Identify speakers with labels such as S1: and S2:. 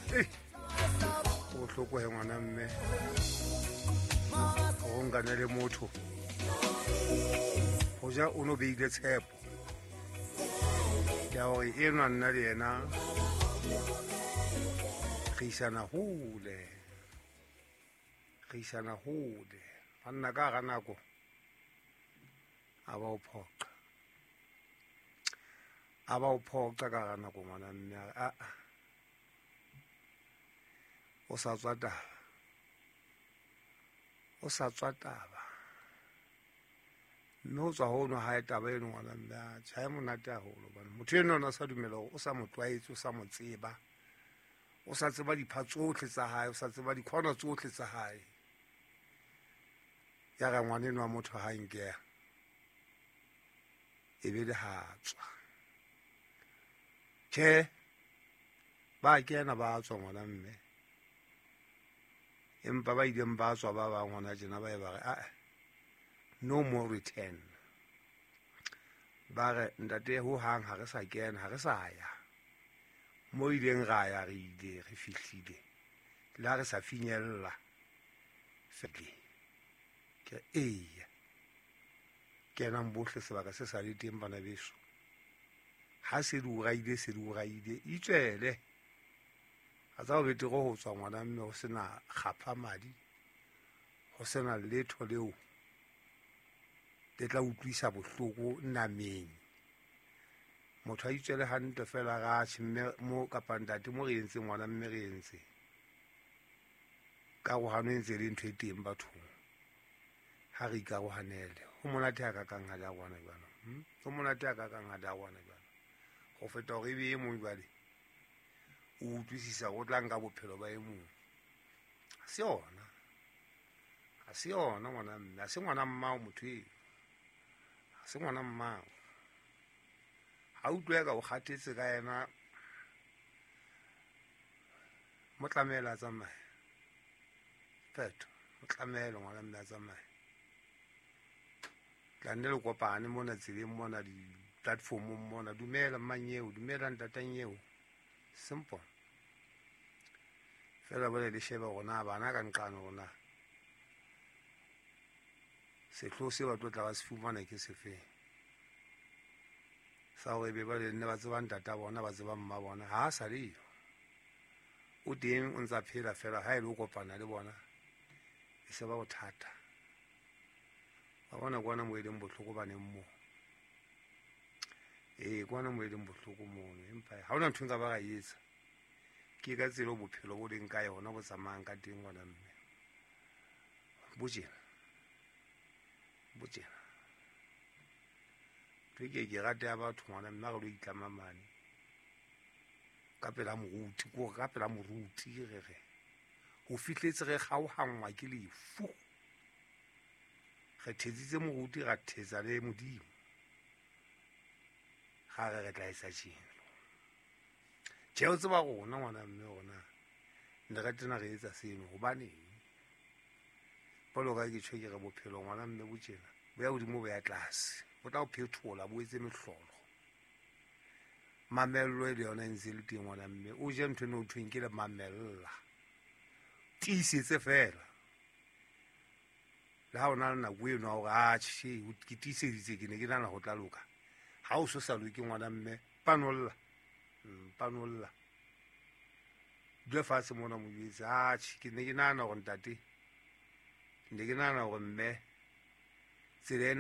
S1: Go bohloko he ngwana mme go nkane le motho go ja o no beile tshepo ya gore enwa nna le yena re isana hole, re isana hole. Banna ka ga nako a ba o phoqa, a ba o phoqa ka ga nako ngwana mme a o sa tswa taba, o sa tswa taba. Mme ho tswa hono hae taba eno ngwana mme a tjha e monate haholo hobane motho eno ona sa dumela hore o sa mo tlwaetse, o sa mo tseba, o sa tseba dipha tsohle tsa hae, o sa tseba dikhona tsohle tsa hae. Ya re ngwana eno wa motho ha nkeha e be le ha tswa. Tjhe, ba kena ba tswa ngwana mme, empa ba ileng ba tswa ba bang hona tjena ba e ba re a no more return. Ba re ntate ho hang ha re sa kena, ha re sa ya mo ileng ra ya, re ile re fihlile le ha re sa finyella fele. Ke eya kenang bohle sebaka se sa le teng bana beso. Ha se di o raile, se di o raile, itswele. A tsa ho betere ho tswa ngwana mme ho sena kgapha madi, ho sena letho leo le tla utlwisa bohloko nameng. Motho a itswele hantle fela ra tjhe mme mo kapa ntate mo re entseng ngwana mme re entse. Karohano e ntse e le ntho e teng bathong. Ha re ikarohanele. Ho monate ha kakang ha le arohana jwalo. Ho monate ha kakang ha le arohana jwalo. Ho feta hore ebe e mong jwale o utlwisisa o tla nka bophelo ba e mong. Ha se yona. Ha se yona ngwana mme, ha se ngwana mmao motho eo. Ha se ngwana mmao. Ha utlwe ka o kgathetse ka yena, mo tlamehela a tsamaye. Phetho, mo tlamehele ngwana mme a tsamaye. Tla nne le kopane mona tseleng mona di-platformong mona. Dumela mmanyeo, dumela ntatanyeo. Simple. Fela bole le shebe hore na bana ka nqane hore na sehloho se ba tlo tla ba se fumana ke sefeng. Sa hore ebe ba le nne ba tseba ntata bona, ba tseba mma bona. Ha a sa le yo. O teng o ntsa phela fela ha e le o kopana le bona e se ba bothata. Wa bona kwana mo e leng bohloko baneng moo. Ee, kwana mo e leng bohloko mono. Empa ha hona ntho e nka ba ka etsa. Ke ka tsela bophelo bo leng ka yona, bo tsamayang ka teng ngwana mme. Bo tjena. Bo tjena. Ntho e ke rate ya batho ngwana mme ha re lo itlama mane. Ka pela moruti, ke hore ka pela moruti re re. Ho fihletse re kgaohanngwa ke lefu. Re thetsitse moruti, ra thetsa le Modimo. Ga re re tla etsa tjena. Tjhe, o tseba rona ngwana mme rona ne re tena re etsa seno hobaneng? Jwalo ka ke tjho ke re bophelo ngwana mme bo tjena, bo ya hodimo bo ya tlase, bo tla o phethola, bo etse mehlolo. Mamello e le yona e ntse e le teng ngwana mme, o je ntho eno ho thweng ke le mamella. Tiisetse fela. Le ha o na le nako eno ya hore a tjhe, ke tiiseditse, ke ne ke nahana ho tla loka. Ha o so sa loke ngwana mme, panolla. Panolla. Dula fatshe mona mo jwetse, a tjhe, ke ne ke nahana hore ntate, ke ne ke nahana hore mme, tsela ena